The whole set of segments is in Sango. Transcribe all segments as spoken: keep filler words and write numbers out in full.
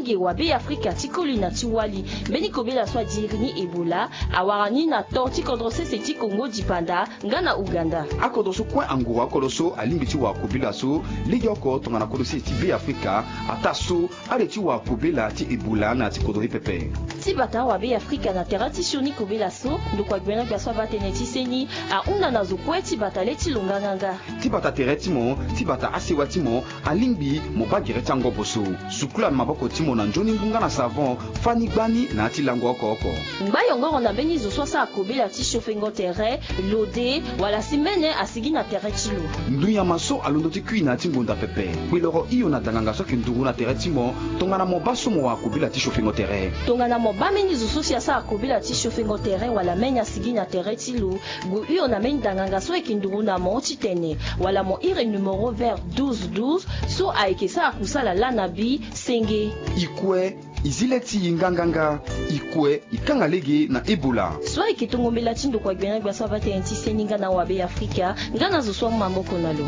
Ge wa Be Afrika ti koli na ti wali. Mbeni kobela so adiri ni Ebola awara ni na to ti kodro sese ti Kongo dipanda nga na Uganda. Akodro so kue anguru akodro so alingbi ti wara kobela so legeoko tongana kodro sese ti Be Afrika ataa so ale ti wara kobela ti Ebola na ya ti kodro ni pepe. Ti bata wa Be Afrika na tere ti sioni kobela so ndokua gbena gbia so abaa tënë ti seni ahunda na zo kue ti bata le ti lo nganganga. Ti bata tere ti mo, ti bata asewa ti mo, alingbi mo baa gere ti angobo so. Sukula na maboko ti mo na nzoni ngu nga na savon, fâ ni gbani na ya ti lango oko oko. Ngba yongoro na mbeni zo so asara kobela ti siofengo tere, lode, wala si mbene asigi na tere ti lo. Ndunyama so alondo ti kui na ya ti ngonda pepe. Kpeloro hio na danganga so ayeke nduru na tere ti mo, tongana mo baa so mo wara kobela ti siofengo tere. Tongana mo baa mbeni zo so si asara kobela ti siofengo tere wala mbene asigi na tere ti lo, gue hio na mbeni danganga so ayeke nduru na mo titene wala mo iri numéro vert douze douze so ayeke sara kusala laa na bi senge. I kue, i zi le ti i nganganga. I kue, i kanga lege na Ebola. So ayeke tongo mbela ti ndokua gbena gbia so abaa tënë ti seni nga na wa Be Afrika nga na zo so amu maboko na lo.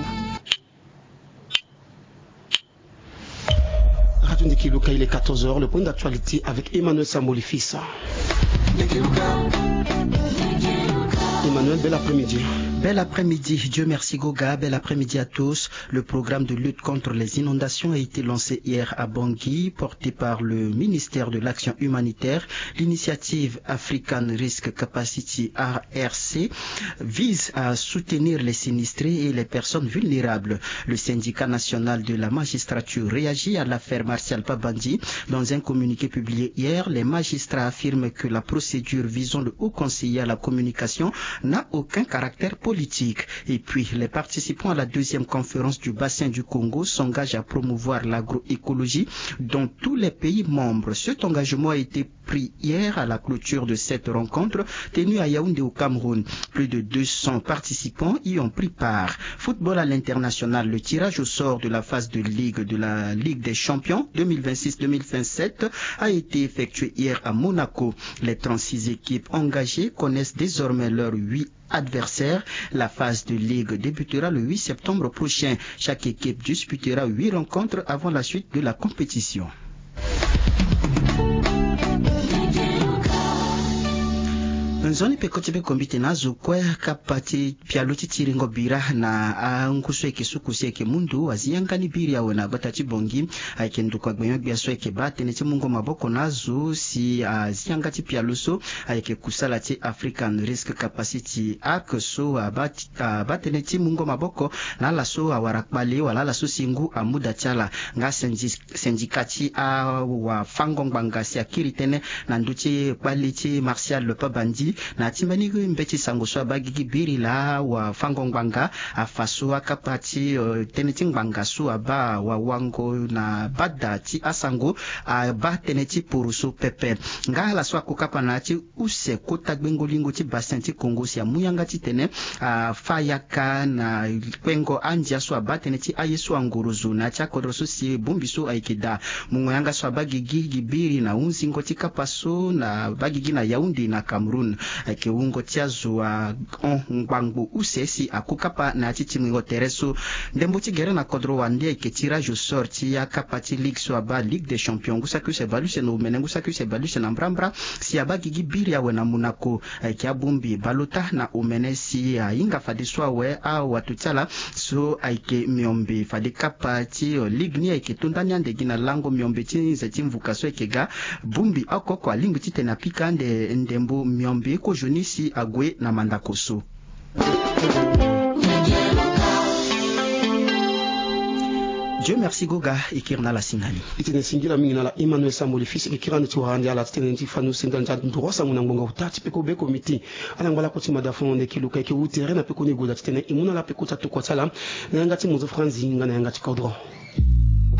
Radio Ndiki Luka, il est quatorze heures, le point d'actualité avec Emmanuel Samboli Fils. Emmanuel, bel après-midi. Bel après-midi, Dieu merci Goga, bel après-midi à tous. Le programme de lutte contre les inondations a été lancé hier à Bangui, porté par le ministère de l'Action humanitaire. L'initiative African Risk Capacity, A R C, vise à soutenir les sinistrés et les personnes vulnérables. Le syndicat national de la magistrature réagit à l'affaire Martial Pabandji. Dans un communiqué publié hier, les magistrats affirment que la procédure visant le haut conseiller à la communication n'a aucun caractère politique. Et puis, les participants à la deuxième conférence du bassin du Congo s'engagent à promouvoir l'agroécologie dans tous les pays membres. Cet engagement a été pris hier à la clôture de cette rencontre tenue à Yaoundé au Cameroun. Plus de deux cents participants y ont pris part. Football à l'international, le tirage au sort de la phase de ligue de la Ligue des champions deux mille vingt-six deux mille vingt-sept a été effectué hier à Monaco. Les trente-six équipes engagées connaissent désormais leurs huit adversaires. La phase de ligue débutera le huit septembre prochain. Chaque équipe disputera huit rencontres avant la suite de la compétition. Nzoni peko ti be kombite na azo kue kapa ti pialo ti tiringo bira na angu so ayeke suku si ayeke mundu azi yanga ni biri awe na gbata ti Bangui. Ayeke ndokua gbenyo-gbia so ayeke baa tënë ti mungo maboko na azo si azi yanga ti pialo so ayeke kusala ti African Risk Capacity Act so abaa ti abaa tënë ti mungo maboko na ala so awara kpale wala ala so si ngu amu da ti ala. Nga syndicat ti awafango-ngbanga si akiri tënë na ndö ti kpale ti Martial Pabandji na ya ti mbeni mbeti sango so abaa gigi biri laa awafango-ngbanga afa so akapa ti tënë ti ngbanga so abaa wawango na bada ti asango abaa tënë ti poroso pepe. Nga ala so akokapa na ya ti use kota gbengo-lingo ti bassin ti Congo si amu yanga titene afa yaka na kpengo andia so abaa tënë ti aye so angorozo na ya ti akodro so si bongbi so ayeke daa. Mungo yanga so abaa gigi gi biri na hunzingo ti kapa so na abaa gigi na Yaoundé na Cameroun. Ayeke wungo ti azo ahon ngbangbo use si akokapa na ya ti tingbingo tere so. Ndembo ti gere na kodro wande ayeke tirage au sort ti akapa ti ligue so abaa Ligue des champions ngu saki use bale use na omene ngu saki use bale use na mbrambra si abaa gigi biri awe na Monaco. Ayeke abongbi baleota na omene si ahinga fadeso awe awato ti ala so ayeke miombe fade kapa ti ligue ni ayeke to ndani ande gi na lango miombe ti nze ti mvuka so ayeke ga. Bongbi oko oko alingbi titene apika ande ndembo miombe kozoni si ague na mandako so. Dieu merci Goga. E kiri na ala si na ni. E tene singila mingi na ala Emmanuel Samboli Fils. E kiri ande ti wara ande ala titene ti fani use ndali ti anduru asango na ngbonga ota ti peko be komiti. Ala ngba lakue ti mada fo na ndeke luka eke wu tere na peko ni e goda titene e mu na ala peko ti atokua ti ala na yanga ti mozo franzi nga na yanga ti kodro.